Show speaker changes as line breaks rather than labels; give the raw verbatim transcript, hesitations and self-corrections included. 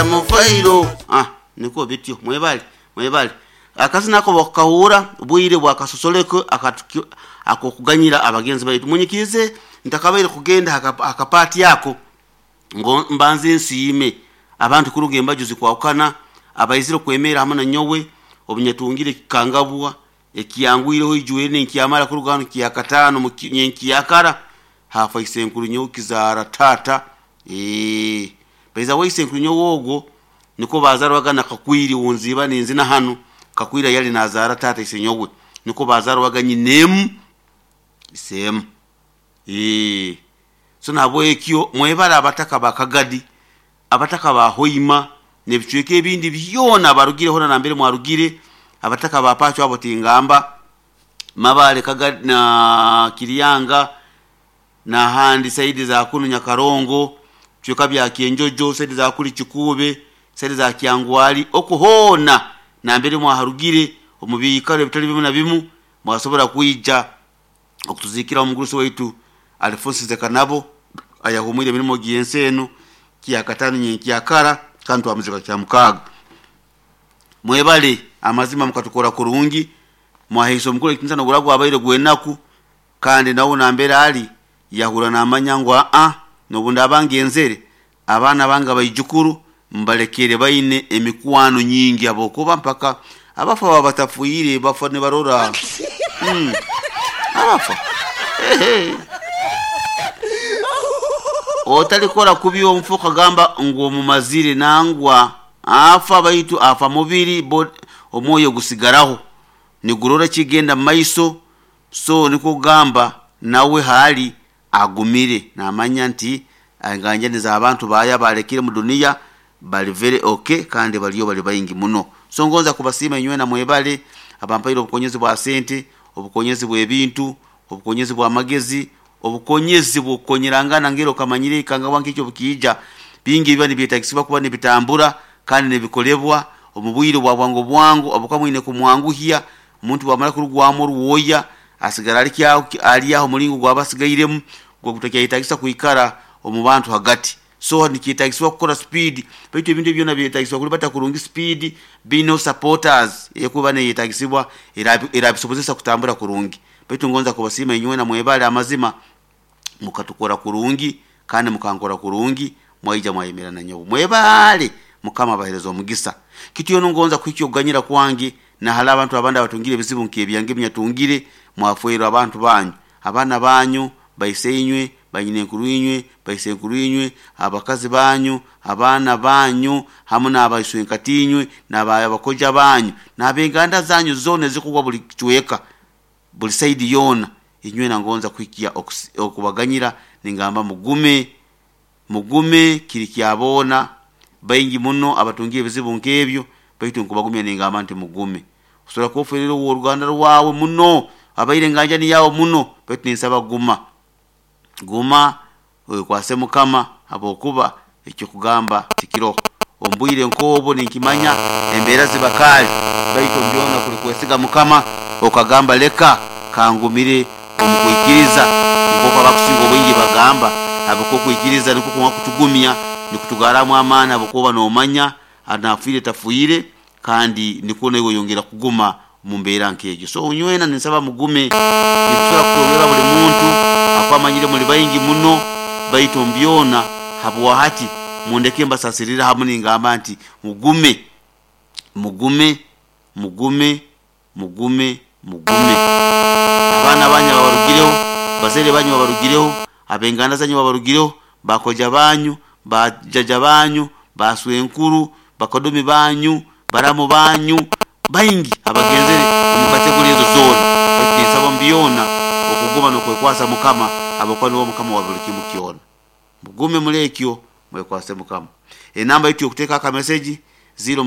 Mu fairo. Ah, nikwo bityo. Mwebale, mwebale. Akazina ako bakahura bwire bwakasosoleko akokuganyira abagenzi baitu. Munyikirize ntakabaire kugenda akapati yako ngo mbanze nsiime abantu kuruga embaju zikwawukana abaizire kwemera hamwe na nyowe obunyatungire kikangabwa ekiyangwireho ijwere nenkyamara kuruga hano kyakataano nyenkyakara hafa isenkuru nyowe kizaara tata. Ee baiza we isenkuru nyowe ogwo niko bazarwaga na Kakwiri wunziba ninzina hano. Kakwira yali nazara tata isenyowe, niko bazarwaga nyinemu isemu. Ee so nabwekyo mwebala abataka bakagadi, abataka ba Hoima nebicweka ebindi byona barugire hona nambere mwarugire, abataka ba Pacho abo tingamba Mabale Kagadi na Kiriyanga na handi saidi za kunu Nyakarongo, cweka bya Kienjojo, saidi za kuli Chikube, saidi za Kiangwali okuhona nambere mwaharugire omubikaro ebitali bimu na bimu mwasobora kuija okutuzikira omugurusi waitu Alfonso Nsekanabo ayahumwire emirimo gyensi eno kyakatano nyenkyakara kandi twamuzika kya mukaaga. Mwebale amazima mukatukora kurungi, mwaheisa omukuru ekitinisa noguragwa abaire gwenaku, kandi nawe nambere ali yahura namanya ngu aa nobundi abangenzere abaana bange abaijukuru mbalekere baine emikwano nyingi abokuba mpaka abafa baba batafuire bafa nibarora. Mm. Abafa ehe otalikora kubi omufuka gamba ngu omumazire nangwa afa baitu afa mubiri omwoyo gusigaraho nigurora kigenda maiso. So niko gamba nawe hali agumire namanya nti anganjaniza abantu baya balekire mu dunia bali very okay kandi baliyo bali bayingi muno. So ngonza kubasima inywe na mwebale abampaire obukonyezi bwa sente, obukonyezi bw'ebintu, obukonyezi bwa magezi, obukonyezi bwokonyerangana ngero kamanyire kanga wange ekyo bukija bingi biba nibyetagisibwa kuba nibitambura kandi nibikolebwa omubwire bwa bwangu bwangu obukamwine kumwanguhia omuntu bwamara kurugwamu oruwoya asigara ali kyaho ali aho mulingo gwabasigairemu gwagutakyayetagisa kuikara omu bantu hagati. So nikyetagisibwa kukora speed baitu ebintu byona byetagisibwa kulibata kurungi speed bino supporters ekuba neyetagisibwa erabisobozesa kutambura kurungi. Baitu ngonza kubasima inywe na mwebale amazima mukatukora kurungi kandi mukankora kurungi mwaija mwayemerana nyowe mwebale mukama abahereza omugisa. Kitiyo ngonza kuhikyo kuganyira kwange na hala abantu abandi abatungire ebizibu nk'ebyange byatungire mwafuirwa abantu banyu abaana banyu baisenywe banyinenkuru inywe baisenkuru inywe abakazi banyu abaana banyu hamu n'abaiswenkatinywe n'abakoja banyu n'abenganda zanyu zone zikugwa buli kichweka buli saidi yona inywe nangonza kuhikia okubaganyira ningamba mugume mugume kiri kyabona baingi muno abatungiye ebizibu nk'ebyo baitu nkubagumya ningamba nti mugume osobola kuoferera oruganda rwawe muno abaire nganjani yawo muno baitu ninsaba guma guma wekwase mukama abokuba ekyo kugamba tikiroho ombwire nkobo ninkimanya embeera zibakali baitu mbyona kuli kwesiga mukama okagamba leka kangumire omukwikiriza nk'oku abakusinga obwingi bagamba abakokwikiriza niko kuba kutugumya nikutugaramu amaani abokuba nomanya anafuire tafuire kandi niko nawe yongera kuguma mu mbeera nk'egyo. So onywena ninsaba mugume nitusobola kutongera buli muntu akwamanyire muli baingi muno baitu mbyona habwahati mundeke mbasasirira hamu ningamba nti mugume mugume mugume mugume mugume. Abaana banyu babarugireho, bazaire banyu babarugireho, abenganda zanyu babarugireho, bakoja banyu, bajaja banyu, baswenkuru, bakodomi banyu, baramu banyu baingi abagenzere omu kategori ezo zoona. Baitu ninsaba mbyona okuguma n'okwekwasa mukama abakuba niwe mukama wa buli kimu kyona. Mugume muri ekyo mwekwase mukama. Enamba yitu yokuteeka akameseji ziro.